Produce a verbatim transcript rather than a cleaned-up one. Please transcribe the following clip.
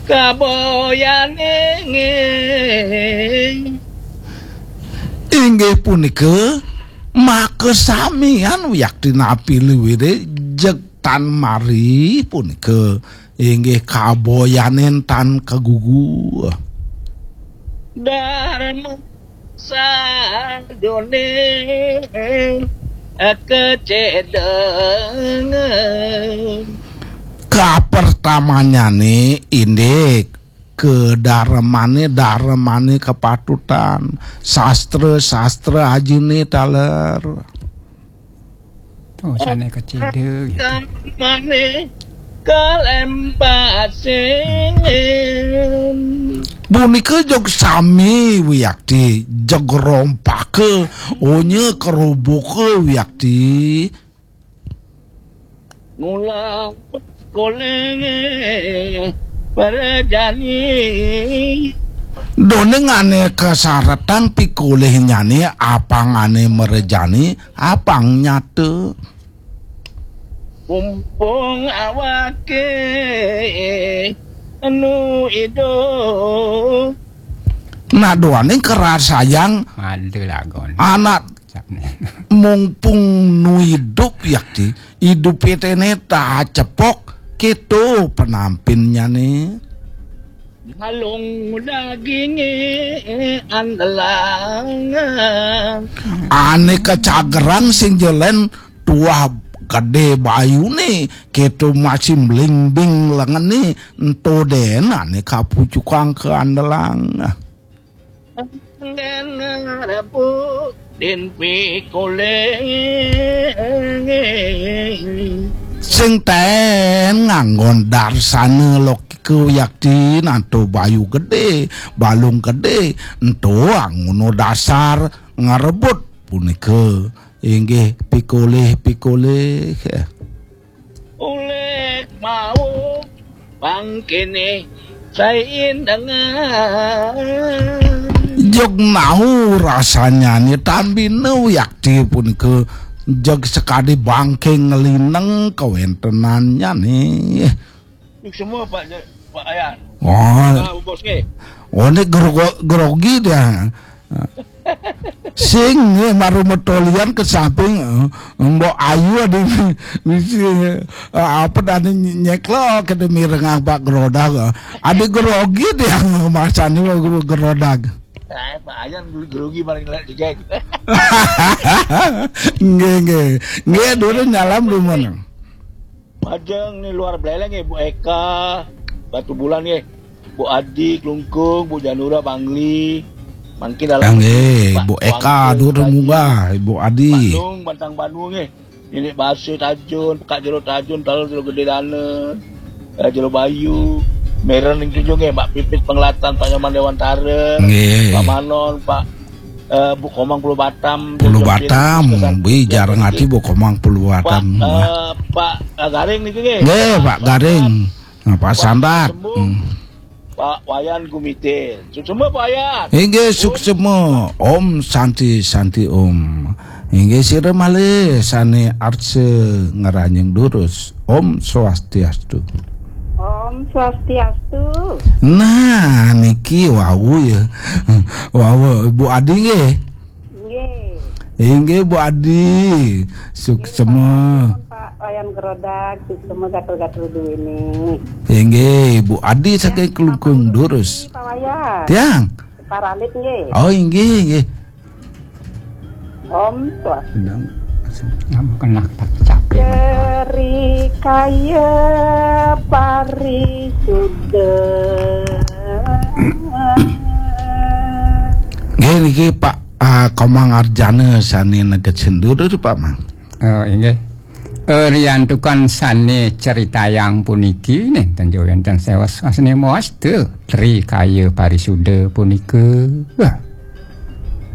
Kaboyane nggih. Inggih punika makasamian wiakti napi luwire jeg tan mari punika inggih kaboyanen tan kagugu. Dharma sajone kecedeng. Kapertamanyane indik kedarmane, darmane kepatutan, sastra, sastra ajine taler. Oh, sane kecedeng gitu. Darmane kalempasing. Punika jog sami wiakti, jog rompaka, onya keroboka wiakti. Ngulang kolenge perjani. Doning ane kasaretang pikolihnyane apangane merejani apang nyata. Mumpung awake anu idup. Nah, doaning kerasayang ada lagon anak. Mumpung nu idup yakti, idup pitene tacepok keto penampinnyane. Ngalung daginge andelang. Ane kacagerang sing jelen tuah gede bayune, keto masih mlingbing lengene, ento den ane kapucukang ke andelang. Den rabu den pikoleh. Sing ten nganggon darsana lokika yakti, nanto bayu gede, balung gede, ento angono dasar ngarebut punika inggih pikoleh-pikoleh. Ulik mau bangkene sain dengan. Jog mau rasanyane tambina yakti punika jeg sekadi bangke ngelineng kawentenannyane. Semua Pak Je-, Pak Ayan. Oh. Ah, bos nggih. Oh, ini gro-, grogi dia. Sing nggih maru metolian ke samping, eh, Mbok Ayu adi misi, eh, apa tadi nyeklok ke demi rengah Pak Grodag, eh. Adi grogi dia masani Pak Grodag. Eh, Pak Ayan grogi paling lek digeg. Nggih, nggih. Nggih, dulu nyalam di mana? Majeng nih luar beleleng ya, Bu Eka, Batu Bulan ya. Bu Adi, Klungkung, Bu Janura, Bangli. Mungkin dalam. Nggih, Bu Eka, Bangli, dulu munggah, Bu Adi. Bandung, Bantang Bandung ya. Ini Basi Tajun, Kak Jero Tajun, Talu Jero Gede Dana, eh, Jero Bayu, Meren ning tujuh nggih, Mbak Pipit Pengelatan, Pak Nyoman Dewantara, nggih. Pak Manon, Pak, eh, Bu Komang Pulau Batam, Pulau Jero Batam, Jero Bui, Jero jarang Jero ati Bu Komang Pulau Batam. Pak, eh, Pak, eh, Garing niku nggih. Nggih, Pak Garing. Nah, Pak Pak Sandat. Sembuh. Hmm. Pak Wayan Gumitir. Suksema Pak Wayan. Inggih, suksema. Om Santi, Santi Om. Inggih, sira malih sane arsa ngranjing durus. Om Swastiastu. Om Swastiastu. Nah, niki wau ya. Wau, Bu Adi nggih. Nggih. Inggih, Bu Adi. Suksema. Pak Wayan Gerodak, suksema gatel-gatel duwene. Inggih, Bu Adi saking Klungkung durus. Pak Wayan. Tiang. Paralit nggih. Oh, inggih, inggih. Om Swastiastu. Sedang. Nggih, niki Pak, ah, Komang Arjana sane neged sindur, Pak Mang. Oh, inggih. Eh, riantukan sane ceritayang puniki, nenten wenten sewas asne moastu Tri Kaya Parisuda punika. Wah.